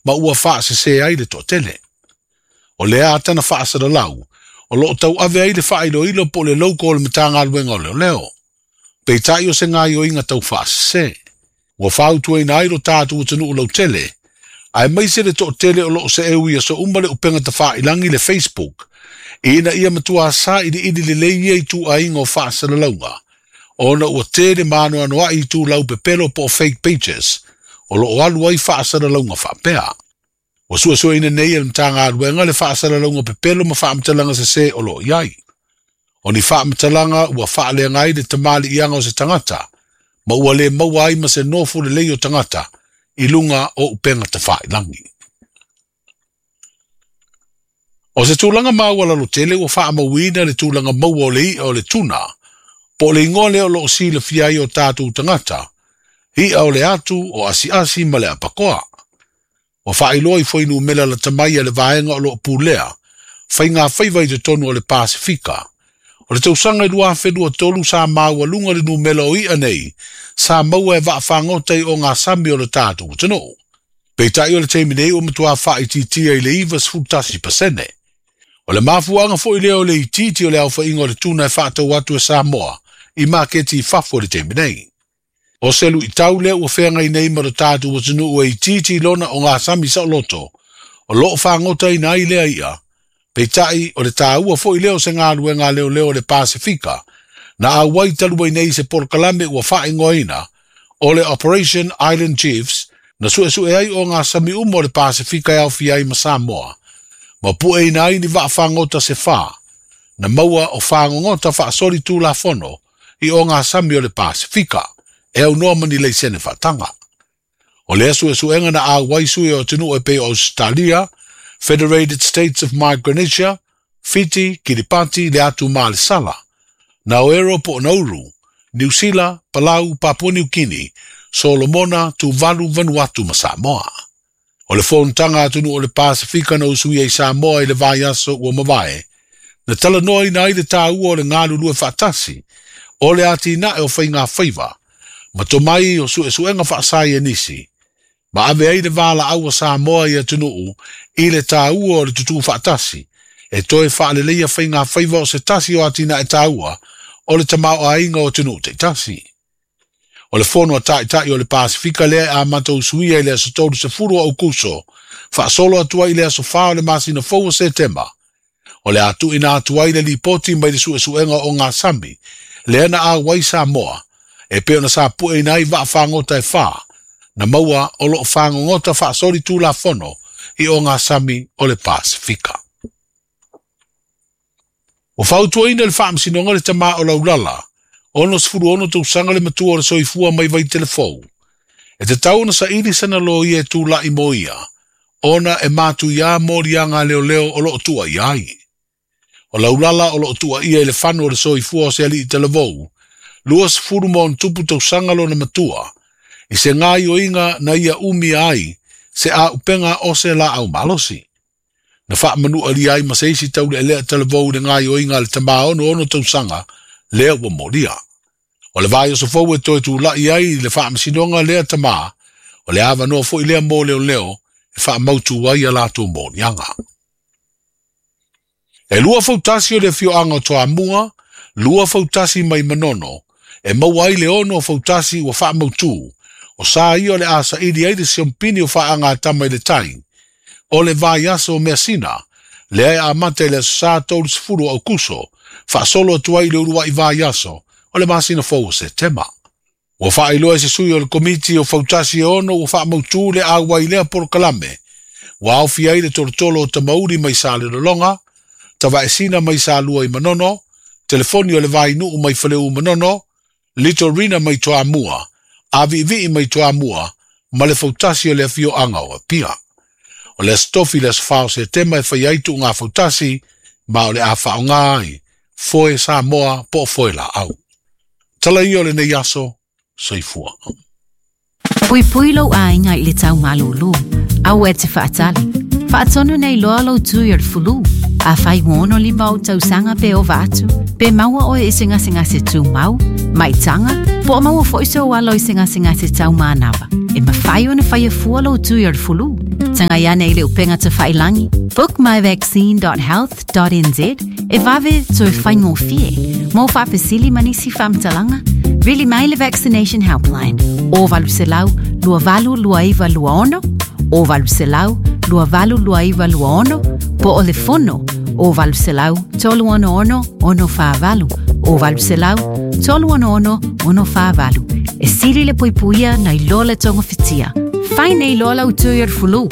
ma ua faasesē ai le toatele. O lea atana faasalalau, o loo tauave ai le faailoilo po o le logo o le Matagaluega o Leoleo. Peitai o se gaoioiga tau faasese. Ua fautuaina ai lo tatou atunuu lautele, aemaise le toatele o loo seeu i aso uma le upega tafailagi le Facebook, ina ia matua sailiili lelei ia ituaiga o faasalalauga, ona ua tele ma anoanoai itulau pepelo po o fake pages o loo alu ai faasalalauga faapea. Ua suesueina nei e le Matagaluega le faasalalauga pepelo ma faamatalaga sesē o loo i ai. O ni faamatalaga ua faaleaga ai le tamaliiaga o se tagata, ma ua le maua ai ma se nofo lelei o tagata i luga o upega tafailagi. O se tulaga maualalo tele ua faamauina le tulaga maua o le i'a o le tuna, po o le igoa lea o loo silafia ai o tatou tagata, i'a o le atu, o asiasi ma le apakoa. Ua faailoa i fuainumera lata mai a le vaega o loo pulea faiga faiva i totonu o le Pasefika. O le tausaga i 2023 sa maualuga le numera o i'a nei sa maua e vaafagota i ogasami o le tatou atunuu. Peitai o le taimi nei ua matua faaitiitia i le 91%. O le mafuaaga foi lea o le itiiti o le aofaiga o le tuna e faatau atu e Samoa i maketi i fafo i le taimi nei. O se luitau lea ua feagai nei ma lo tatou atunuu e itiiti lona ogasami saoloto o loo fagotaina ai lea i'a. Peitai o le taua foi lea o se galuega a leoleo o le Pasefika na auai talu ai nei se polokalame ua faaigoaina o le Operation Island Chiefs na suesue ai ogasami uma o le Pasefika e aofia ai ma Samoa, ma pueina ai ni vaafagota se fa na maua o fagogota faasoli tulafono i ogasami o le Pasefika e aunoa ma ni laisene faataga. O lea suesuega na auai sui o atunuu e pei o Australia, Federated States of Micronesia, Fiti, Kiribati, le atu Malesala, Naoero po o Nauru, Niu Sila, Palau, Papua New Guinea, Solomona, Tuvalu, Vanuatu ma Samoa. O le fonotaga a atunuu o le Pasefika na usuia i Samoa i le vaiaso ua mavae, na talanoaina ai le taua o le galulue faatasi, o le atinae o faiga faiva, ma tomai o suesuega faasaienisi, ma ave ai le valaau a Samoa i atunuu i le taua o le tutū faatasi, e toe faaleleia faiga faiva o se tasi o atinae taua o le tamaoaiga o atunuu taitasi. O le fono a taitai o le Pasefika lea e amata usuia i le aso 30 o Aukuso, faasolo atu ai i le aso 4 o le masina fou o Setema. O le a tuuina atu ai le lipoti mai le suesuega o ogasami, lea na auai Samoa, e pei ona sa pueina ai vaafagota e fa, na maua o loo fagogota faasoli tulafono i ogasami o le Pasefika. Ua fautuaina e le Faamasinoga le tama o Laulala, 66 tausaga le matua o le soifua mai Vaitelefou, e tatau ona saili sana loia e tulai mo ia, ona e matuiā moliaga a leoleo o loo tuuaia ai. O Laulala o loo tuuaia i le fano o le soifua o se alii talavou, 20 ma ona tupu tausaga lona matua, i se gaoioiga na ia umia ai se auupega o se laau malosi. Na faamanualia ai ma se isi taulealea talavou i le gaoioiga a le tama 66 tausaga lea ua molia. O le vaiaso fou e toe tulai ai i le Faamasinoga lea tama, o le avanoa foi lea mo leoleo e faamautu ai a latou moliaga. E lua fautasi o le afioaga o Toamua, lua fautasi mai Manono, e maua ai le ono fautasi ua faamautu, o sa ia o le a saili ai le siompini o faagatama i le tai, o le vaiaso o Measina, lea e amata i le aso Sa 30 o Aukuso, faasolo atu ai i le uluai vaiaso o le masina fou o Setema. Ua faailoa e se sui o le komiti o fautasi e ono ua faamautu le auai lea polokalame, ua aofia ai le tolotolo o Tamauli mai Salelologa, Tavaesina mai Salua i Manono, Telefoni o le Vainuu mai Faleu Manono, Litorina mai Toamua, Aviivii mai Toamua, ma le fautasi o le afioaga o Apia. O le Aso Tofi le aso 4 o Setema e fai ai tuuga fautasi, ma o le a faaaoga ai foe Samoa po o foe laau. Tala ia o lenei aso, soifua. Puipui lou aiga i le tau malūlū. Aua e te faatali. Faatonu nei loa lou tui o le fulu. Afai ua 65 ou tausaga pe ova atu, pe maua oe i se gasegase tumau, maitaga, po o maua foi sou alo i se gasegase tau manava, e mafai ona faia fua lou tui o le fulu. Tagai ane i le upega tafailagi bookmyvaccine.health.nz e vave toe faigofie. Mo faafesili ma nisi faamatalaga, vili mai le Vaccination Helpline o 800 2829 26 o 800 2829 po o le fono o 800 366 648 o 800 366 648. E sili le puipuia nai lo le togafitia. Fai nei loa lau tui o le fulu.